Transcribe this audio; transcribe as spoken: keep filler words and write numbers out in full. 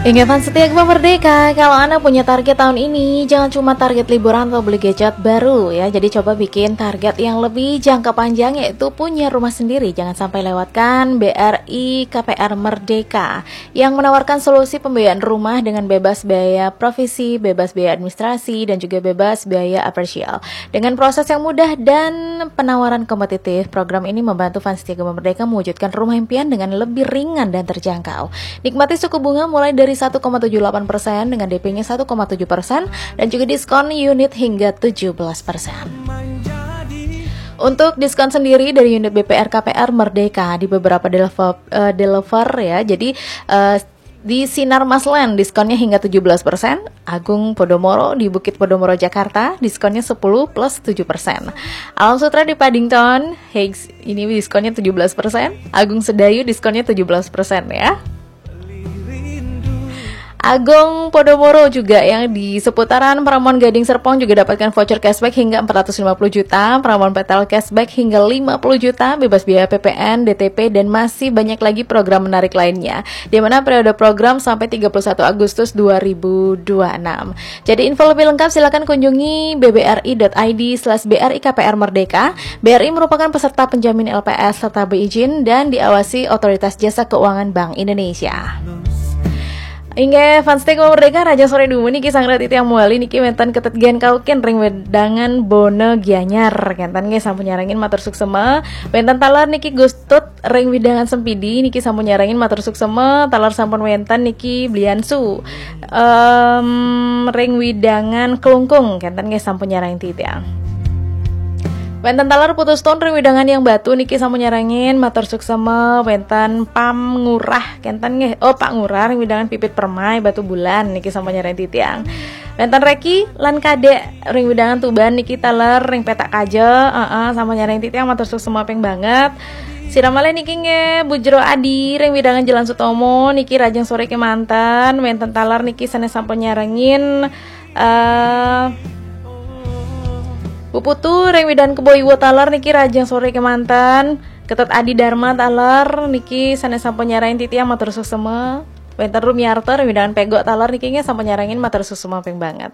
Ingat fans setia Gema Merdeka, kalau Anda punya target tahun ini, jangan cuma target liburan atau beli gadget baru ya. Jadi coba bikin target yang lebih jangka panjang, yaitu punya rumah sendiri. Jangan sampai lewatkan B R I K P R Merdeka yang menawarkan solusi pembiayaan rumah dengan bebas biaya provisi, bebas biaya administrasi, dan juga bebas biaya appraisal. Dengan proses yang mudah dan penawaran kompetitif, program ini membantu fans setia Gema Merdeka mewujudkan rumah impian dengan lebih ringan dan terjangkau. Nikmati suku bunga mulai dari satu koma tujuh delapan persen dengan D P-nya satu koma tujuh persen dan juga diskon unit hingga tujuh belas persen. Untuk diskon sendiri dari unit B P R K P R Merdeka di beberapa developer, eh, developer ya. Jadi eh, di Sinar Masland diskonnya hingga tujuh belas persen, Agung Podomoro di Bukit Podomoro Jakarta diskonnya sepuluh plus tujuh persen. Alam Sutra di Paddington Heights ini diskonnya tujuh belas persen, Agung Sedayu diskonnya tujuh belas persen ya. Agung Podomoro juga yang di seputaran Paramountain Gading Serpong juga dapatkan voucher cashback hingga empat ratus lima puluh juta, Paramountain Petal cashback hingga lima puluh juta, bebas biaya P P N, D T P, dan masih banyak lagi program menarik lainnya. Di mana periode program sampai tiga puluh satu Agustus dua ribu dua puluh enam. Jadi info lebih lengkap silakan kunjungi B B R I dot I D slash B R I K P R Merdeka. B R I merupakan peserta penjamin L P S serta berizin dan diawasi Otoritas Jasa Keuangan Bank Indonesia. Inggih, fans setia Gema Merdeka, Raja Sore Dumu niki sang Raditya Muali niki wénten Ketet Gen Kaukin ring wedangan Bona Gianyar. Kénten nggih sampun nyarengin, matur suksema. Wénten taler niki Gustut ring wedangan Sempidi niki sampun nyarengin, matur suksema. Taler sampun wénten niki Bliansu. Em, ring wedangan Klungkung, kénten nggih sampun nyarengin titiang. Wénten taler Putu Stone ring wedangan Yang Batu niki sampun nyarengin, matur suksema. Wénten Pam Ngurah, kénten nggih. Oh, Pak Ngurah ring wedangan Pipit Permai Batubulan niki sampun nyarengin titiang. Wénten Reki lan Kadek ring wedangan Tuban niki taler ring Petak Kaja, heeh, sampun nyarengin titiang, matur suksema ping banget. Sira malih niki nggih Bujro Adi ring wedangan Jalan Sutomo niki, rahajeng sore kémanten. Wénten taler niki sané sampun nyarengin, eh, Bu Putu ring wedangan Kebo Iwa taler niki, rahajeng sore kémanten. Ketet Adi Dharma taler niki sané sampun nyarengin titiang, matur suksema. Wénten Rumiarto ring wedangan Pegok taler niki nggih sampun nyarengin, matur suksema ping banget.